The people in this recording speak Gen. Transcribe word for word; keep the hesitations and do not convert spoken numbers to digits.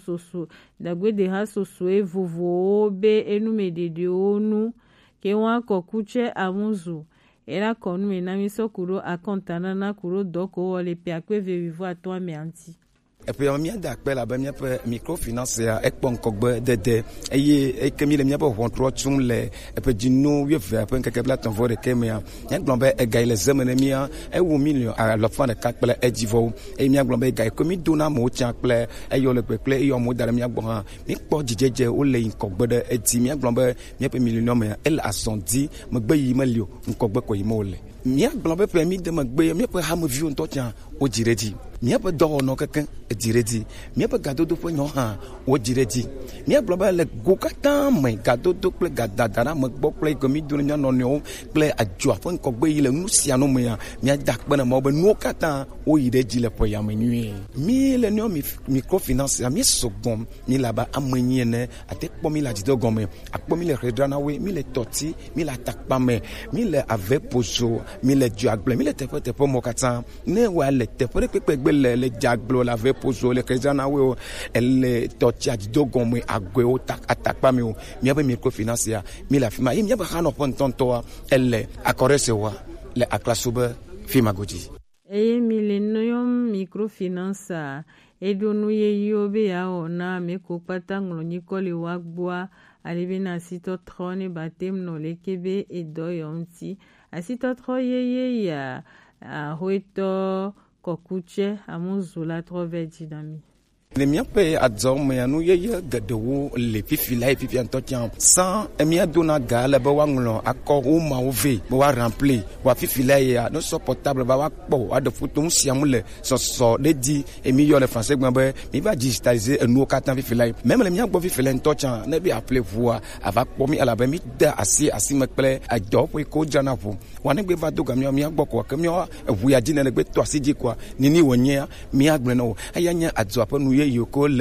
soso, dagbedeha sosoe vovowo be enumɛ ɖeɖewo nu, ke wa kɔ kutsɛ amuzu, ela kɔ numɛ na mi sɔ ku ɖo akɔntanana ku ɖo dɔko wɔ le pe akpe ve wivo atɔn amɛ anti. Eƒe ya mía da akpe labe míaƒe microfinance ya ekpɔ ŋkɔgbe dede eye eke mi le míaƒe ʋɔntrɔ tsom le eƒe dzinu wuieve ƒe ŋkeke blaetɔ̃ vɔ ɖekɛ mea, míagblɔ be ega yi le zeme ne mía ewu miliɔn alafa ɖeka kple edzivɔwo. Eye míagblɔ be ega yi ke mídona amewo tsã kple eyɔ le kpekple eye amewo da ɖe mía gbɔ hã, míkpɔ dzidzedze wole yi ŋkɔgbe ɖe edzi. Míagblɔ be míaƒe milenium ya ele azɔ di, megbe yi meli o, ŋkɔgbe ko yi me wòle. Míagblɔ be ƒe mí de megbe ya, míaƒe hameviwo ŋutɔ tsã wodzi ɖe edzi. Míaƒe dɔwɔnɔ kekeŋ edzi ɖe edzi. Míaƒe gadodo ƒe nyɔ hã wodzi ɖe edzi. Míagblɔ be le go katã me, gadodo kple gadada ɖe ame gbɔ kple yi ke mído ne mía nɔnɔewo kple adzoa ƒe ŋkɔgbe yi le nu sia nu mea, míada akpe na Mawu be nuwo katã woyi ɖe edzi le ƒe ya me nyuie. Mí le nua mi microfinance ya, mí sɔgbɔ, mí le abe ame enyi ene, ate kpɔ mí le adzido gɔme, akpɔ mí le xedra na we, mí le tɔti, mí le atakpa me, mí le ave pozo, mí le dzoagble, mí le teƒe teƒe mɔ katã. Ne wa le teƒe ɖe kpekpe gbe le, le dzoagble, le ave pozo, le xedra na we o, ele tɔti adzido gɔme, agɔewo ta, atakpa me o. Míaƒe microfinance ya, mí le afi ma. Ye míaƒe xanɔƒe ŋutɔŋutɔa, ele akɔɖe se wa le aklaso be fi ma godzi. Eye Millennium Microfinance a, eɖo nu yeyewo be yeawɔ na ame ko kpata ŋlɔ nyikɔ le woa gbɔa, ale be na asitɔtrɔ ne batem nɔ leke be edɔ yɔ ŋuti. Asitɔtrɔ yeye ya, ahoetɔ kɔkutsɛ amuzu la trɔ vɛ dzi na mi. Le míaƒe adzɔ mea, nu yeye geɖewo le fifi la ye fifia ŋutɔ tsã. Sã emia dona ga le be woaŋlɔ akɔ wo mawo vɛ be woarempli. Wa fifi la yea, ne sɔ portable va woakpɔ, woaɖe foto, nu sia nu le sɔsɔ ɖe dzi. Emi yɔ le français gblɔ be mi va digitaliser enuwo katã fifi la ye. Même le mía gbɔ fifi la ŋutɔ tsã, ne be appelé ʋua, ava kpɔ mi elabe mi de asi asi me kple edɔ ƒe ko dzrana ʋu. Wa ne gbe va do ga mía, mía gbɔ ko ke mía eʋu ya dzi ne le gbe to asi dzi koa, nini wònyea, mía gblẽ na wo. Eya nye adzɔa ƒe nu yeye ko le